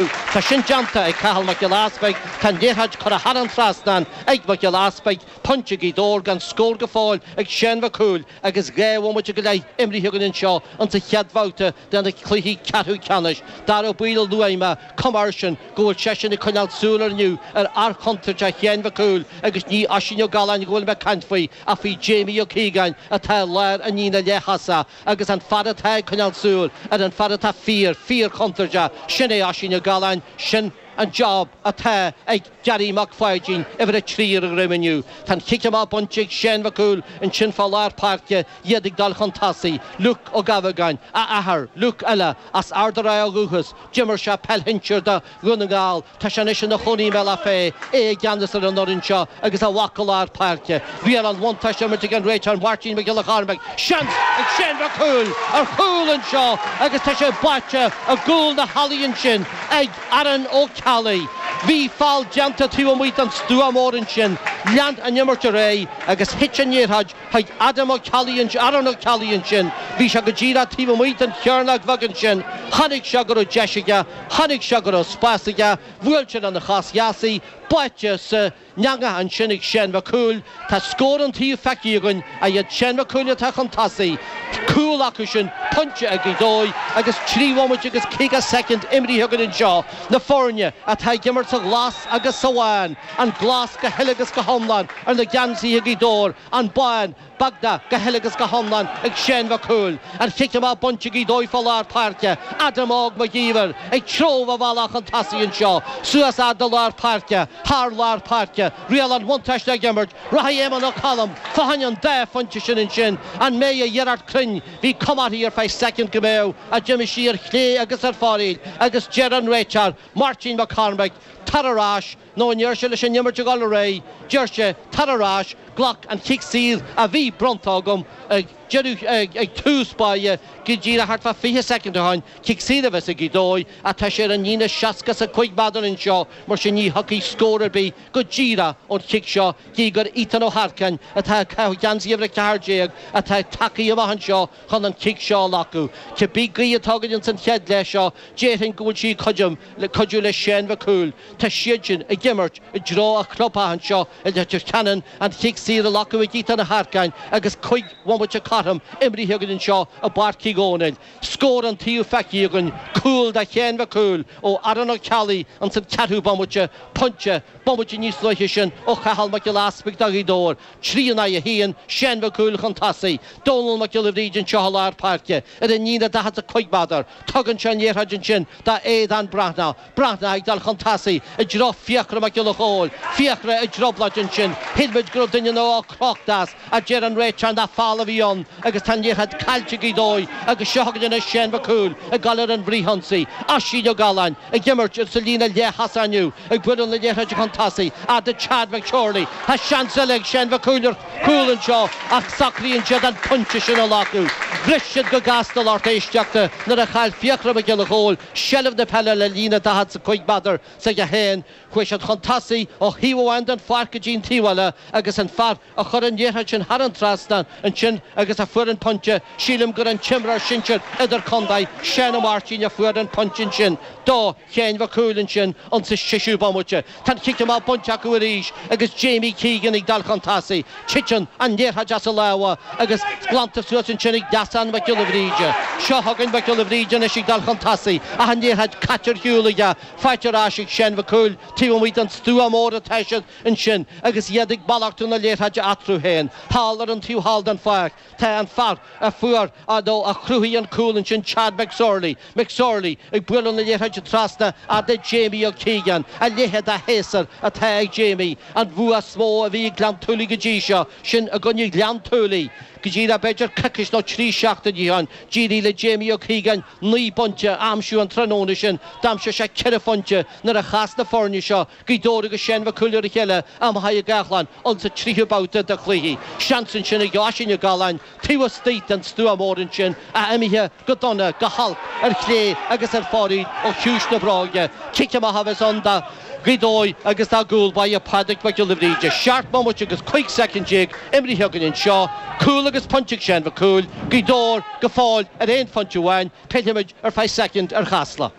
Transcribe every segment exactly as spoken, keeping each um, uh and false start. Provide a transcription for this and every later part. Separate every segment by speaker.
Speaker 1: Tá sin déanta ag Cathal Mac Giolla Easpaig, tá an liathróid curtha thar an trasnán ag Mac Giolla Easpaig, pointe Ghaoth Dobhair gan scór go fóill ag Seán Mac Cumhaill agus dhá bhomaite go leith imrithe againn anseo insa chéad bhabhta de na cluichí ceathrú ceannais. Dara Ó Baoill a luaigh mé, cuma air sin go bhfuil seisean ag coinneáil súil air inniu ar fhear contúirteach Sheáin Mhic Cumhaill agus ní Oisín Ó Galláin go bhfuil mé ag caint faoi ach faoi Jamie Ó Cíogáin atá i lár an líne leath-thosach agus an fear atá ag coinneáil súil ar an fear atá fíor, fíor chontúirteach, sin é Oisín Ó Galláin, sin an job atá ag Gerry Mac Pháidín, uimhir a trí ar a dhroim inniu. Tá an chic amach bainte ag Seán Mac Cumhaill ansin fá lár páirce, iad ag dul chun tosaigh. Luke Ó Gabhagáin, a athair, Luke eile, as Ard an Rátha ó dhúchas, d'imir sé peil shinsir do Dhún na nGall, tá sé anois ina chónaí i mBealach Féich, é i gceannas ar an fhoireann seo agus a mhac i lár páirce. Riail an bhuntáiste á imirt ag an réiteoir Máirtín Mac Giolla Chormaic. Seans ag Seán Mac Cumhaill ar chúl anseo agus tá sé báite i gcúl na hallaí ansin ag Aaron Ó Ceallaigh. Bhí feall déanta taobh amuigh den stua mór ansin. Lean an imirt ar aghaidh agus thit an liathróid chuig Adam Ó Ceallaigh, Aaron Ó Ceallaigh ansin. Bhí sé go díreach taobh amuigh den chearnóg bheag ansin. Chonaic sé go raibh deis aige, chonaic sé go raibh spás aige, bhuail sé lena chos dheas í, báite san eangach ansin ag Seán Mac Cumhaill. Tá scór an taobh feicthe againn, ach iad Seán Mac Cumhaill atá chun tosaigh. Cúl acu sin, pointe ag Gaoth Dobhair agus trí bhomaite agus caoga soicind imrithe againn anseo. Na foirne atá ag imirt sa ghlas agus sa bhán, an glas go huile agus go hiomlán ar na geansaithe ag Gaoth Dobhair, an bán beagnach go huile agus go hiomlán ag Seán Mac Cumhaill. An chic amach bainte ag Gaoth Dobhair fá lár páirce, Adam Óg Mac Íomhair ag treabhadh a bhealach chun tosaigh anseo, suas fhad le lár páirce, thar lár páirce, riail an bhuntáiste ag imirt, rachaidh Éamonn Ó Colm fá choinne an dá phointe sin ansin, an mbeidh a iarracht cruinn, bhí cuma uirthi ar feadh soicind go mbeadh, ach d'imigh sí ar chlé agus ar foraíl agus deir an réiteoir, Máirtín Mac Cormaic, tar ar ais, nó ní deir sé leis an imirt a dhul ar aghaidh, deir sé, tar ar ais, glac an chic saor a bhí bronnta agam ag deireadh, ag tús báire, go díreach thart fá fiche soicind ó shin, cic saor a bheas ag Gaoth Dobhair, ach tá sé ar an líne seasca is a cúig méadar anseo, mar sin ní thiocfaidh scór ar bith go díreach ón chic seo, gí gur Ethan Ó hEarcáin atá ag caitheamh geansaí uimhir a ceathair déag atá tagtha amach anseo chun an cic seo a ghlacadh. Cibé gaoth atá againn ins an chéad leath seo, déarfainn go bhfuil sí ag cuidiú le Seán Mhic Cumhaill. Tá siad sin ag imirt i dtreo an chlubtheach anseo i Leitir Ceanainn, an chic saor á glacadh ag Ethan Ó hEarcáin agus cúig bhomaite cothrom imrithe againn anseo i bPáirc Uí Dhónaill. Scór an taobh feicthe againn, cúl do Sheán Mhic Cumhaill ó Aaron Ó Ceallaigh ins an ceathrú bomaite, pointe, bomaite níos luaithe sin ó Chathal Mac Giolla Easpaig do Ghaoth Dobhair. Trí in aghaidh a haon, Seán Mac Cumhaill chun tosaigh, Dónal Mac Giolla Bhríde anseo i lár páirce, ar an líne daichead is a cúig méadar. Tugann sé an liathróid ansin do Aodhán Breathnach. Breathnach ag dul chun tosaigh i dtreo Fiachra Mac Giolla Chóill. Fiachra i dtrioblóid ansin. Shíl muid go raibh duine nó dhó crochta as, ach deir an réiteoir nach feall a bhí ann agus tá an liathróid caillte ag Gaoth Dobhair agus seo chugainn anois Seán Mac Cumhaill ag dul ar an bhfrithionsaí. Oisín Ó Galláin ag imirt sa líne leath-thosach inniu, ag bualadh na liathróide chun tosaigh fhad le Chad McSorley. Tá seans eile ag Seán Mac Cumhaill ar chúl anseo ach socraíonn siad an pointe sin a ghlacadh. Bhris siad go gasta lucht éisteachta nuair a chaill Fiachra Mac Giolla Chóill seilbh na peile le líne daichead is a cúig méadar s'aige féin. Chuaigh siad chun tosaigh ó thaobh amháin den pháirc go dtí an taobh eile agus an fear a chuir an liathróid sin thar an trasnán ansin agus a fuair an pointe, sílim gur an t-imreoir sinsir idirchontae, Seán Ó Máirtín a fuair an pointe ansin do Sheáin Mhic Cumhaill ansin insa seisiú bomaite. Tá an cic amach bainte acu arís agus Jamie Keegan ag dul chun tosaigh. Titeann an liathróid as a lámha agus glanta suas ansin ag Neasán Mac Giolla Bhríde. Seo chugainn Mac Giolla Bhríde anois ag dul chun tosaigh ach an liathróid caite ar shiúl aige. Faighte ar ais ag Seán Mhic Cumhaill taobh amuigh den stua mór atá siad ansin agus iad ag malartú na liathróide eatarthu féin. Thall ar an taobh thall den pháirc tá an fear a fuair, nó a chruthaigh an cúl ansin, Chad McSorley. McSorley ag bualadh na liathróide trasna fhad le Jamie Ó Cíogáin. A leithéid de shéasúr atá ag Jamie. An bua is mó a bhí ag Gleann tSúilí go dtí seo, sin i gcoinne Ghleann tSúilí. Go díreach b'fhéidir coicís nó trí seachtaine ó shin, d'éirigh le Jamie Ó Cíogáin naoi bpointe a aimsiú an tráthnóna sin. D'aimsigh sé ceithre phointe nuair a chas na foirne seo, Gaoth Dobhair agus Seán Mhic Cumhaill ar a chéile i Machaire Gathlán insa tríú babhta de chluichí. Seans ansin ag Oisín Ó Galláin taobh istigh den stua mór ansin ach imithe go dona, go holc ar chlé agus ar fóraoil ó chiumhais na bróige. Cic amach a bheas ann do Ghaoth Dobhair agus dá gcúl báire Pádraig Mac Giolla Bhríde. Seacht mbomaite agus cúig soicind déag imrithe againn anseo. Cúl agus pointe ag Seán Mhic Cumhaill, Gaoth Dobhair go fóill ar aon phointe amháin. Pillfimid ar feadh soicind ar Chasla.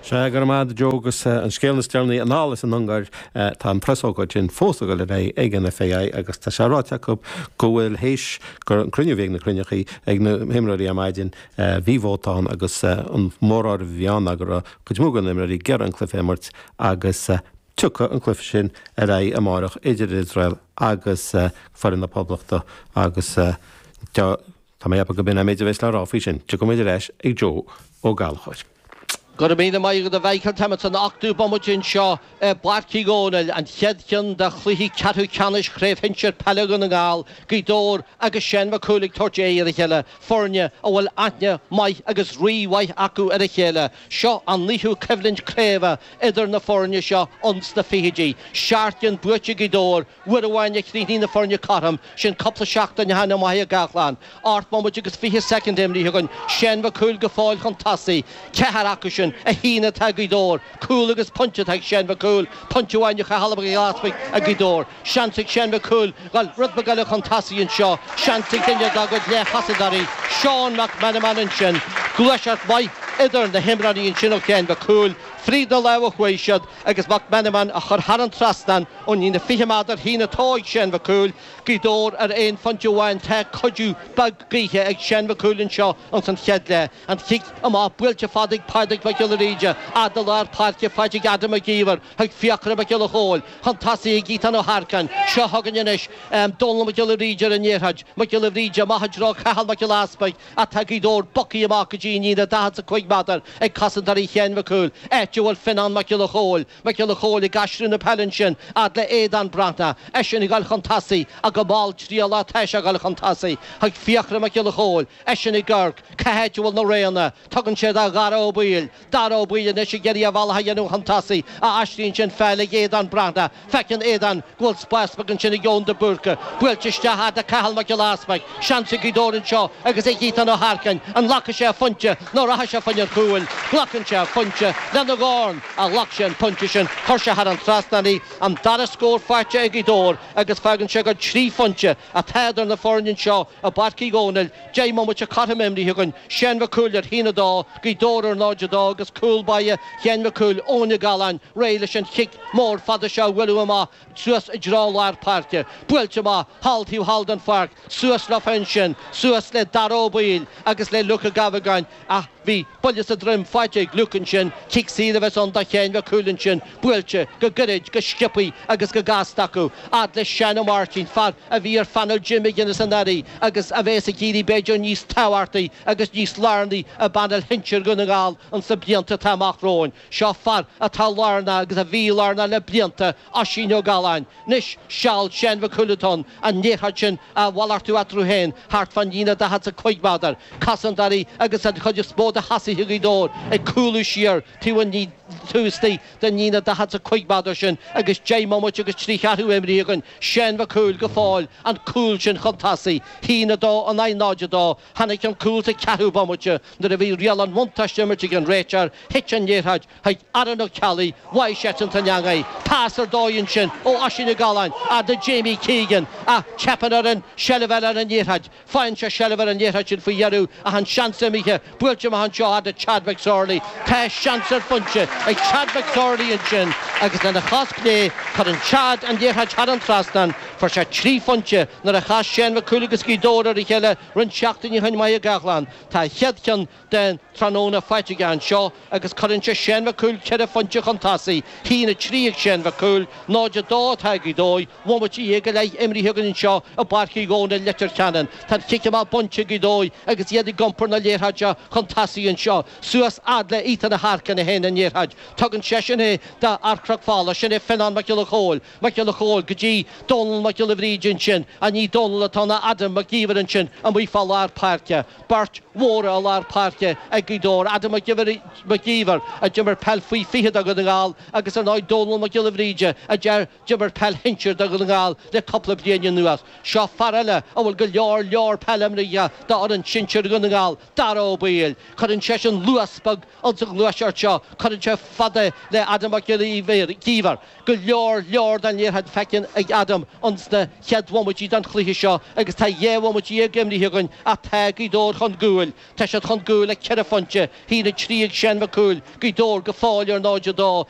Speaker 2: Sea, go raibh maith Joe agus an scéal is deireanaí anall as an Ungáir tá an preasócáid sin fós ag dul ar aghaidh ag an FAI agus tá sé ráite acu go bhfuil théis gur an cruinniú bhí ag na cruinneachaí ag na himreoirí ar maidin bhí vóta ann agus an móráireamh a bhí ann go raibh cuid mhór de na himreoirí ag iarraidh an cluiche a imirt agus tiocfaidh an cluiche sin ar aghaidh amárach idir Iosrael agus foireann na Poblachta agus tá mé ag ceapadh go b'in an méid a bheas le rá faoi sin. Tiocfaidh muid ar ais ag Joe Ó Gallchóir.
Speaker 1: Go raibh míle maith agat a Mhichael táimid san ochtú bomaite anseo i bPáirc Uí Dhónaill, an chéad cheann de chluichí ceathrú ceannais Chraobh Shinsir Peile Dhún na nGall, Gaoth Dobhair agus Seán Mac Cumhaill ag tabhairt aghaidh ar a chéile, foirne a bhfuil aithne maith agus rímhaith acu ar a chéile. Seo an naoú coimhlint craoibhe idir na foirne seo ins na fichidí. Seacht gcinn buaite ag Gaoth Dobhair, uair amháin a chríochnaigh na foirne cothrom, sin cúpla seachtain ó shin i mBaile Gathlán. Ocht mbomaite agus fiche soicind imrithe againn, Seán Mac Cumhaill go fóill chun tosaigh, ceathair acu sin, a haon atá ag Gaoth Dobhair, cúl agus pointe atá ag Seán Mac Cumhaill, pointe amháin do Chathal Mac Giolla Easpaig ag Gaoth Dobhair. Seans ag Seán Mac Cumhaill dul rud beag eile chun tosaigh anseo, seans ag duine dá gcuid leath-chosantóirí, Seán Mac Meanman ansin, gluaiseacht mhaith idir na himreoirí ansin ó Sheán Mac Cumhaill, fríd na lámha a chuaigh siad agus Mac Meanman a chur thar an trasnán ón líne fiche méadar féin atá ag Seán Mac Cumhaill, Gaoth Dobhair ar aon phointe amháin tá cuidiú beag gaoithe ag Seán Mac Cumhaill anseo ins an chéad leath. An chic amach buailte fada ag Pádraig Mac Giolla Bhríde, fhad le lár páirce faighte ag Adam Mac Íomhair chuig Fiachra Mac Giolla Chóill, chun tosaigh ag Ethan Ó hEarcáin. Seo chugainn anois Dónal Mac Giolla Bhríde ar an liathróid. Mac Giolla Bhríde amach i dtreo Cathal Mac Giolla Easpaig ach tá Gaoth Dobhair bogtha amach go dtí an líne daichead is a cúig méadar ag cosantóirí Sheáin Mhic Cumhaill, áit a bhfuil Fionnán Mac Giolla Chóill. Mac Giolla Chóill ag aistriú na peile ansin fhad le Aodán Breathnach, eisean ag dul chun tosaigh ach go mall trialach atá sé ag dul chun tosaigh chuig Fiachra Mac Giolla Chóill, eisean ag amharc cá háit a bhfuil na roghanna. Tugann sé do Dhara Ó Baoill. Dara Ó Baoill anois ag iarraidh a bhealach a dhéanamh chun tosaigh, a aistríonn sin peil ag Aodán Breathnach. Feiceann Aodán go bhfuil spás beag ansin ag Eoin de Búrca. Buailte isteach fhad le Cathal Mac Giolla Easpaig. Seans ag Gaoth Dobhair anseo agus ag Ethan Ó hEarcáin. An nglacfaidh sé a phointe nó rachaidh sé fá choinne an chúil? Glacann sé a phointe lena dhorn a ghlac sé an pointe sin. Chuir sé thar an trasnán í. An dara scór faighte ag Gaoth Dobhair agus fágann sé gur trí phointe atá idir na foirne anseo i bPáirc Uí Dhónaill. Deich mbomaite cothrom imrithe againn. Seán Mac Cumhaill ar haon a dó, Gaoth Dobhair ar náid a dó agus cúl báire Sheáin Mhic Cumhaill, Eoin Ó Galláin, réidh leis an chic mór fada seo a bhualadh amach suas i dtreo lár páirce. Buailte amach thall taobh thall den pháirc, suas leofa ansin, suas le Dara Ó Baoill agus le Luke Ó Gabhagáin ach bhí buille sa droim faighte ag Luke ansin, cic saor a bheas ann do Sheáin Mhic Cumhaill ansin, buailte go gairid, go sciobthaí agus go gasta acu. Fhad le Seán Ó Máirtín, fear a bhí ar phainéal Jim McGuinness anuraidh agus a bheas ag éirí b'fhéidir níos tábhachtaí agus níos lárnaí i bpainéal shinsir Dhún na nGall ins na blianta atá amach romhainn. Seo fear atá lárnach agus a bhí lárnach le blianta, Oisín Ó Galláin. Anois seal Seán Mhic Cumhaill atá ann, an liathróid sin a mhalartú eatarthu féin thart fán líne daichead is a cúig méadar. Cosantóirí agus an chuid is mó de thosaithe Ghaoth Dobhair ag cúlú siar taobh an taobh istigh den líne daichead is a cúig méadar sin agus deich mbomaite agus trí cheathrú imrithe againn. Seán Mhic Cumhaill go fóill, an cúl sin chun tosaigh. Haon a dó in aghaidh náid a dó. Tháinig an cúl sa cheathrú bomaite nuair a bhí riail an bhuntáiste imirt ag an réiteoir. Thit an liathróid chuig Aaron Ó Ceallaigh, bhfaighidh seisean san eangaí. Pas ar dóigh ansin ó Oisín Ó Galláin fhad le Jamie Keegan ach teipeann air an seilbh a fháil ar an liathróid. Faigheann sé seilbh ar an liathróid sin faoi dheireadh ach an seans imithe. Buailte amach anseo fhad le Chad McSorley. Tá seans ar phointe ag Chad McSorley ansin agus lena chos chlé cuireann Chad an liathróid thar an trasnán. Fuair sé trí phointe nuair a chas Seán Mac Cumhaill agus Gaoth Dobhair ar a chéile roinnt seachtainí ó shin i mBaile Gathlán. Tá a chéad cheann den tráthnóna faighte aige anseo agus cuireann sé Seán Mac Cumhaill ceithre phointe chun tosaigh. Haon a trí ag Seán Mac Cumhaill, náid a dó atá ag Gaoth Dobhair, bomaite dhéag go leith imrithe againn anseo i bPáirc Uí Dhónaill, Leitir Ceanainn. Tá an chic amach bainte ag Gaoth Dobhair agus iad ag iompar na liathróide chun tosaigh anseo. Suas fhad le Ethan Ó hEarcáin a théann an liathróid. Tugann seisean é do fhear Chnoc Fola, sin é Fionnán Mac Giolla Chóill. Mac Giolla Chóill go dtí Dónal Mac Giolla Bhríde ansin, ach ní Dónal atá ann ach Adam Mac Íomhair ansin amuigh fá lár páirce. Beirt mhóra i lár páirce ag Gaoth Dobhair, Adam Mac Íomhair a d'imir peil faoi fiche do Dhún na nGall agus ar ndóigh Dónal Mac Giolla Bhríde a d'imir peil shinsir do Dhún na nGall le cúpla bliain anuas. Seo fear eile a bhfuil go leor leor peile imrithe do fhoireann sinsir Dhún na nGall, Dara Ó Baoill. Cuireann seisean luas beag ins an ghluaiseacht seo. Cuireann sé fada le Adam Mac Giolla Íomhair. Go leor leor den liathróid feicthe ag Adam ins na chéad bhomaití den chluiche seo agus tá dhá bhomaite dhéag imrithe againn ach tá Gaoth Dobhair chun cúil. Tá siad chun cúil le ceithre phointe, haon a trí ag Seán Mac Cumhaill, Gaoth Dobhair go fóill ar náid a dó.